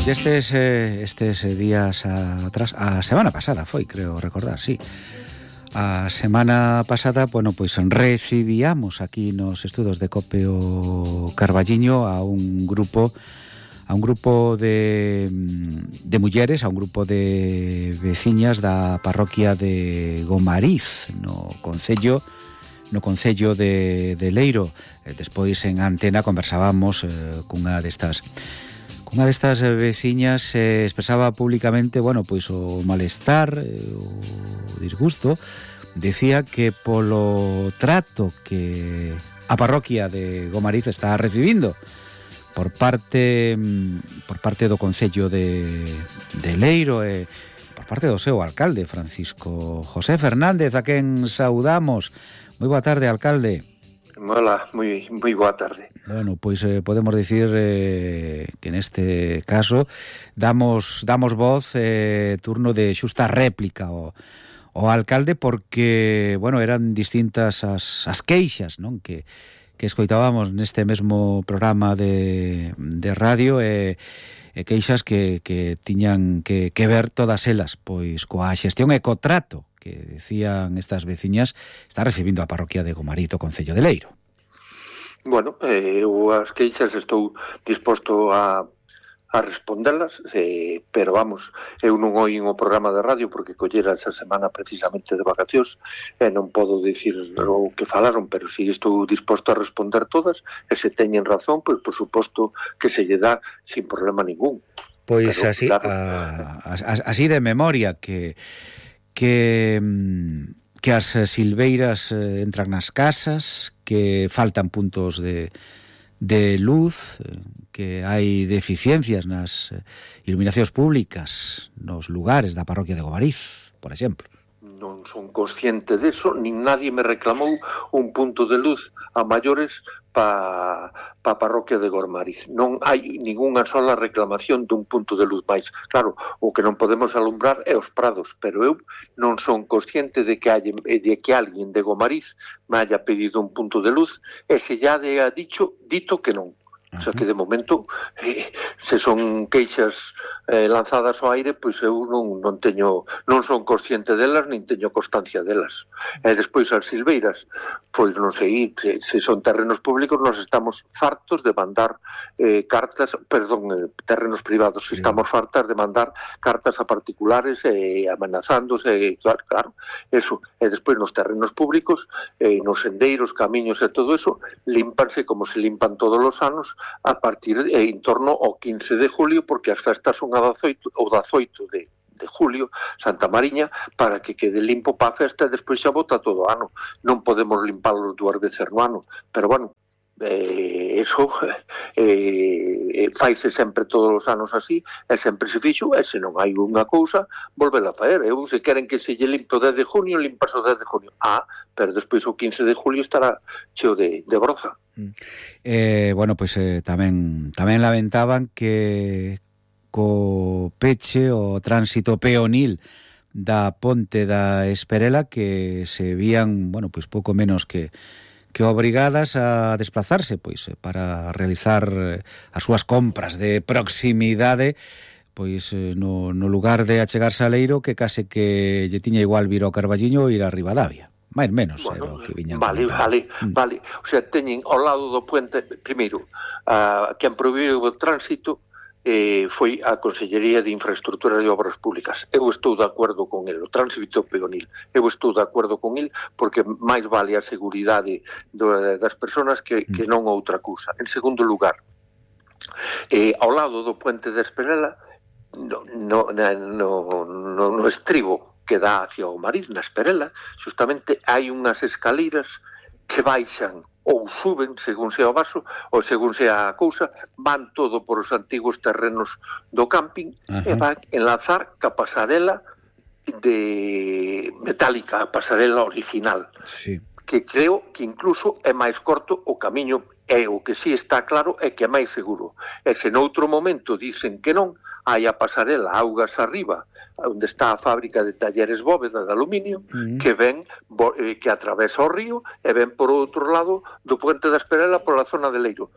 Estes días atrás, a semana pasada foi, creo recordar, sí. A semana pasada, bueno, pois recibíamos aquí nos estudos de COPE o Carballiño a un grupo de mulleres, a un grupo de veciñas da parroquia de Gomariz, no concello de Leiro. Despois en antena conversábamos cunha destas veciñas, expresaba públicamente, bueno, pois o malestar, o disgusto. Decía que polo trato que a parroquia de Gomariz está recibindo por parte do concello de Leiro e por parte do seu alcalde, Francisco José Fernández, a quen saudamos. Moi boa tarde, alcalde. Hola, moi boa tarde. Bueno, pois podemos dicir que neste caso damos voz, turno de xusta réplica ao alcalde, porque, bueno, eran distintas as queixas, non, que escoitábamos neste mesmo programa de radio, e queixas que tiñan que ver todas elas pois coa xestión e co trato que decían estas veciñas está recibindo a parroquia de Gomariz, o concello de Leiro. Bueno, eu as queixas estou disposto a respondelas, pero vamos, eu non oín o programa de radio porque collera esa semana precisamente de vacacións e non podo dicir o que falaron, pero si estou disposto a responder todas, e se teñen razón, pois por suposto que se lle dá sin problema ningún. Pois pero, así, claro, así de memoria que as silveiras entran nas casas, que faltan puntos de luz, que hai deficiencias nas iluminacións públicas nos lugares da parroquia de Gomariz, por exemplo. Non son consciente deso, nin nadie me reclamou un punto de luz a maiores pa parroquia de Gomariz. Non hai ningunha sola reclamación dun punto de luz máis. Claro, o que non podemos alumbrar é os prados, pero eu non son consciente de que alguén de Gomariz me haya pedido un punto de luz, e se ya ha dito que non. O sea que de momento, se son queixas lanzadas ao aire, pois eu non son consciente delas, nin teño constancia delas. E despois as silveiras, pois non sei, se son terrenos públicos, nos estamos fartos de mandar terrenos privados, estamos fartas de mandar cartas a particulares amenazándose, claro, eso. E despois nos terrenos públicos, nos sendeiros, camiños e todo eso, límpanse como se limpan todos os anos, a partir en torno ao 15 de julio, porque as festas son a 18 de julio, Santa Mariña, para que quede limpo para a festa e despois xa bota todo o ano. Non podemos limpalo 2 veces no ano, pero bueno, eso faise sempre todos os anos así, e sempre se fixo, e se non hai unha cousa, volvela a faer. Eu, se queren que se lle limpe o 10 de junio, limpas o 10 de junio. Pero despois o 15 de julio estará cheo de broza. Bueno, pois tamén lamentaban que co peche o tránsito peonil da ponte da Esperela, que se vían, bueno, pois pouco menos que obrigadas a desplazarse pois para realizar as súas compras de proximidade, pois no lugar de achegarse a Leiro, que case que lle tiña igual vir ao Carballiño ou ir a Ribadavia. máis menos, bueno, que viñan vale. O sea, teñen ao lado do puente, primeiro, quen prohibiu o tránsito foi a Consellería de Infraestructuras e Obras Públicas. Eu estou de acordo con el, o tránsito peonil. Eu estou de acordo con el porque máis vale a seguridade das persoas que non outra cousa. En segundo lugar, ao lado do puente de Esperela, no estribo que dá hacia o Mariz, na Esperela, justamente hai unhas escaleiras que baixan ou suben, según sea o vaso, ou según sea a cousa, van todo por os antigos terrenos do camping. Ajá. E van enlazar ca pasarela de metálica, a pasarela original. Sí. Que creo que incluso é máis corto o camiño, e o que sí está claro é que é máis seguro. E se noutro momento dicen que non, hai a pasarela augas arriba, onde está a fábrica de talleres Bóveda de aluminio, que ven, que atravesa o río e ven por outro lado do puente da Esperela pola zona de Leiro.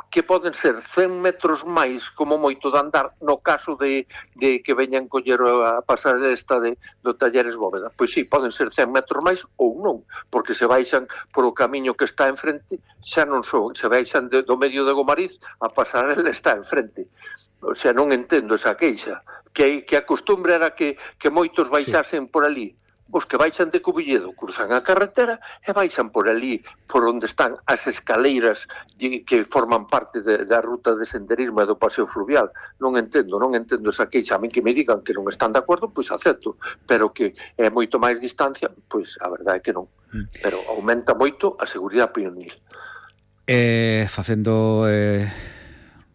que poden ser 100 metros máis como moito de andar no caso de que veñan coller a pasar esta do Talleres Bóveda. Pois sí, poden ser 100 metros máis ou non, porque se baixan por o camiño que está enfrente, xa non son, se baixan do medio de Gomariz, a pasarela está enfrente. O sea, non entendo esa queixa, que a costumbre era que moitos baixasen por ali. Os que baixan de Cubilledo cruzan a carretera e baixan por ali, por onde están as escaleiras que forman parte da ruta de senderismo e do paseo fluvial. Non entendo esa queixa. A min que me digan que non están de acordo, pois acepto, pero que é moito máis distancia, pois a verdade é que non. Pero aumenta moito a seguridade peonil.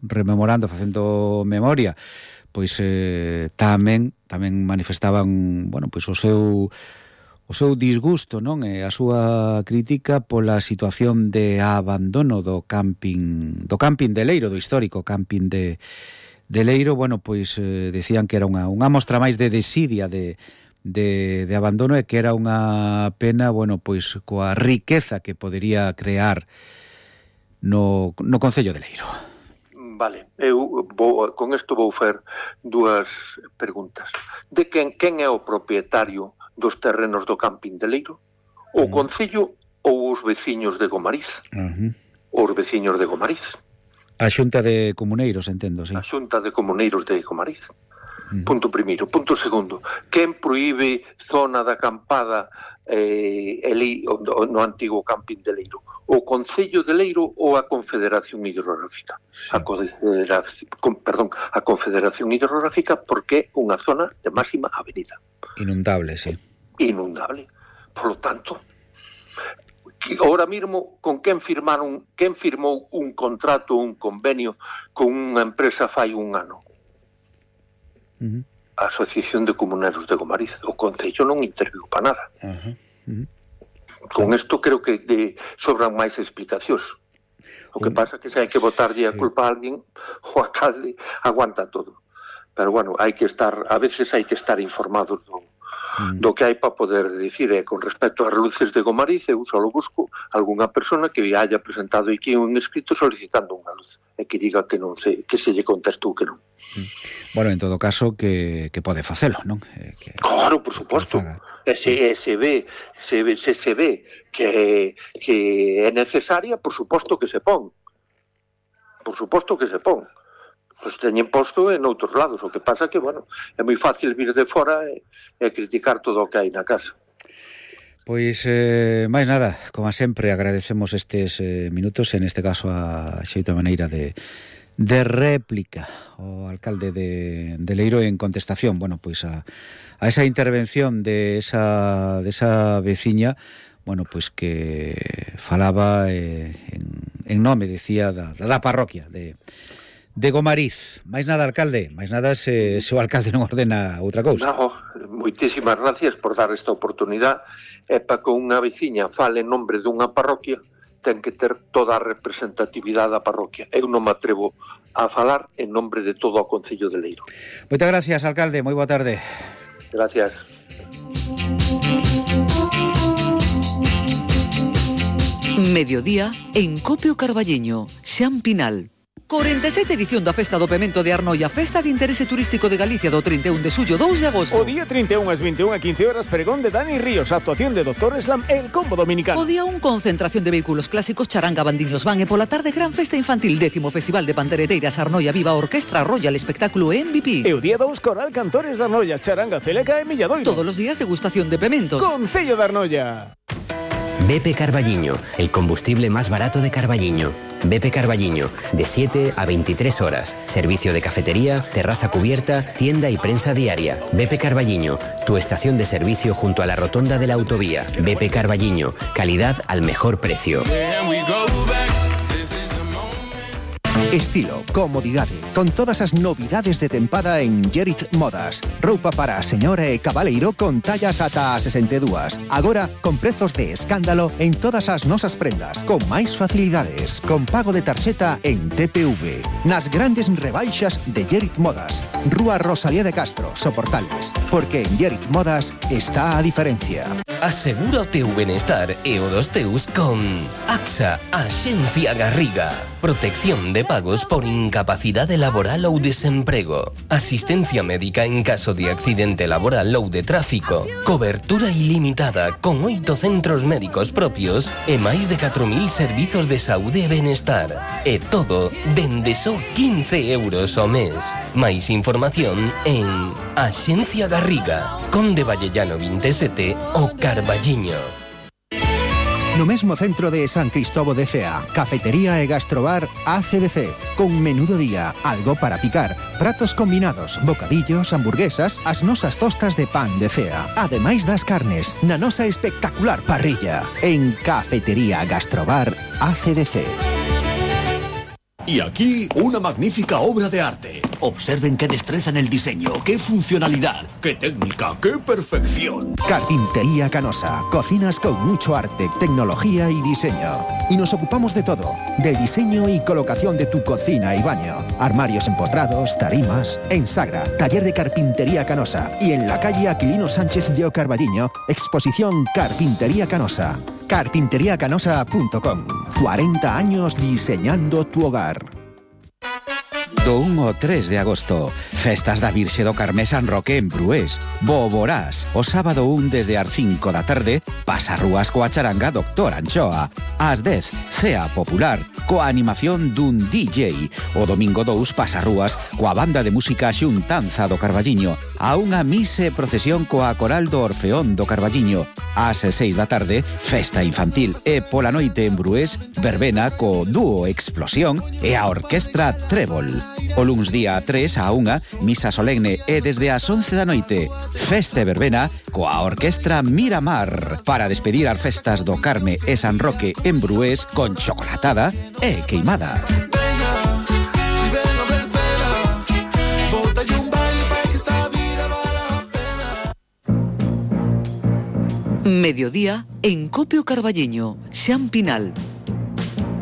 Rememorando, facendo memoria, pois tamén manifestaban, bueno, pois o seu disgusto, non? E a súa crítica pola situación de abandono do camping de Leiro, do histórico camping de Leiro. Bueno, pois decían que era unha mostra máis de desidia de abandono e que era unha pena, bueno, pois coa riqueza que podería crear no concello de Leiro. Vale, con isto vou fer dúas preguntas. De quen é o propietario dos terrenos do camping de Leiro? O concello ou os veciños de Gomariz? Os veciños de Gomariz. A Xunta de Comuneiros, entendo, sí. A Xunta de Comuneiros de Gomariz. Punto primeiro. Punto segundo. Quen proíbe zona de acampada no antigo camping de Leiro? O Concello de Leiro ou a Confederación Hidrográfica? Sí. A Confederación Hidrográfica, porque é unha zona de máxima avenida. Inundable, sí. Inundable. Por lo tanto, ahora mismo, con quen firmou un contrato, un convenio con unha empresa fai un ano? A Asociación de Comuneros de Gomariz. O Concello non interviu para nada. Con isto creo que sobran máis explicacións. O que pasa é que se hai que botarlle a culpa a alguén, o alcalde aguanta todo. Pero bueno, a veces hai que estar informados do que hai para poder dicir. Con respecto ás luces de Gomariz, eu só busco algunha persona que haya presentado aquí un escrito solicitando unha luz e que diga que non sei, que se lle contestou que non. Bueno, en todo caso que pode facelo, non? Claro, por suposto. Se ve que é necesaria, por suposto que se pon. Por suposto que se pon. Pois teñen posto en outros lados. O que pasa que, bueno, é moi fácil vir de fora e criticar todo o que hai na casa. Pois, máis nada, como sempre, agradecemos estes minutos, en este caso a xeita maneira de réplica ao alcalde de Leiro en contestación, bueno, pois a esa intervención de esa veciña, bueno, pois que falaba en nome, decía, da parroquia de Gomariz. Máis nada, alcalde, máis nada se o alcalde non ordena outra cousa. No, moitísimas gracias por dar esta oportunidade, e para que unha veciña fale en nombre dunha parroquia ten que ter toda a representatividade da parroquia. Eu non me atrevo a falar en nombre de todo o Concello de Leiro. Moitas gracias, alcalde, moi boa tarde. Gracias. Mediodía en Copio Carballiño, Xan Pinal. 47 edición da Festa do Pemento de Arnoia, Festa de Interese Turístico de Galicia do 31 de xullo, 2 de agosto. O día 31 ás 21 a 15 horas, pregón de Dani Ríos, actuación de Dr. Slam e el Combo Dominicano. O día 1, concentración de vehículos clásicos, charanga, bandiños van, e pola tarde, gran festa infantil, 10º Festival de Pandereteiras Arnoia Viva, Orquestra Royal, espectáculo MVP. E o día 2, Coral Cantores de Arnoia, charanga, celeca e Milladoiro. Todos os días degustación de pementos. Concello de Arnoia. BP Carballiño, el combustible más barato de Carballiño. BP Carballiño, de 7 a 23 horas. Servicio de cafetería, terraza cubierta, tienda y prensa diaria. BP Carballiño, tu estación de servicio junto a la rotonda de la autovía. BP Carballiño, calidad al mejor precio. Estilo, comodidade, con todas as novidades de tempada en Gerit Modas. Roupa para a señora e cabaleiro con tallas ata a 62. Agora, con prezos de escándalo en todas as nosas prendas, con máis facilidades, con pago de tarxeta en TPV. Nas grandes rebaixas de Gerit Modas. Rúa Rosalía de Castro, Soportales. Porque en Gerit Modas está a diferencia. Asegura o teu benestar e o dos teus con AXA, Axencia Garriga. Protección de pagos por incapacidade laboral ou desemprego. Asistencia médica en caso de accidente laboral ou de tráfico. Cobertura ilimitada con 8 centros médicos propios e máis de 4.000 servizos de saúde e benestar. E todo dende só 15 euros ao mes. Máis información en Axencia Garriga, Conde Vallellano 27 o Carballiño. No mesmo centro de San Cristóbal de Cea, cafetería e gastrobar ACDC, con menú do día, algo para picar, pratos combinados, bocadillos, hamburguesas, as nosas tostas de pan de Cea, ademais das carnes, na nosa espectacular parrilla, en Cafetería Gastrobar ACDC. Y aquí, una magnífica obra de arte. Observen qué destreza en el diseño, qué funcionalidad, qué técnica, qué perfección. Carpintería Canosa. Cocinas con mucho arte, tecnología y diseño. Y nos ocupamos de todo. Del diseño y colocación de tu cocina y baño. Armarios empotrados, tarimas. En Sagra, taller de Carpintería Canosa. Y en la calle Aquilino Sánchez de Carballiño, exposición Carpintería Canosa. Carpinteriacanosa.com. 40 años diseñando tu hogar. Do 1 ao 3 de agosto, festas da Virxe do Carmé San Roque en Brués. Boborás, o sábado 1 desde as 5 da tarde, pasarrúas coa charanga Doctor Anchoa. Ás 10, cea popular, coa animación dun DJ. O domingo 2, pasarrúas coa banda de música Xuntanza do Carballiño. A unha mise procesión coa coral do Orfeón do Carballiño. Ás 6 da tarde, festa infantil. E pola noite en Brués, verbena co dúo Explosión e a orquestra Trébol. O luns día 3 a 1, misa solemne e desde as 11 da noite, festa e verbena coa orquestra Miramar para despedir as festas do Carme e San Roque en Brués con chocolatada e queimada. Mediodía en Copio Carballiño, Xan Pinal.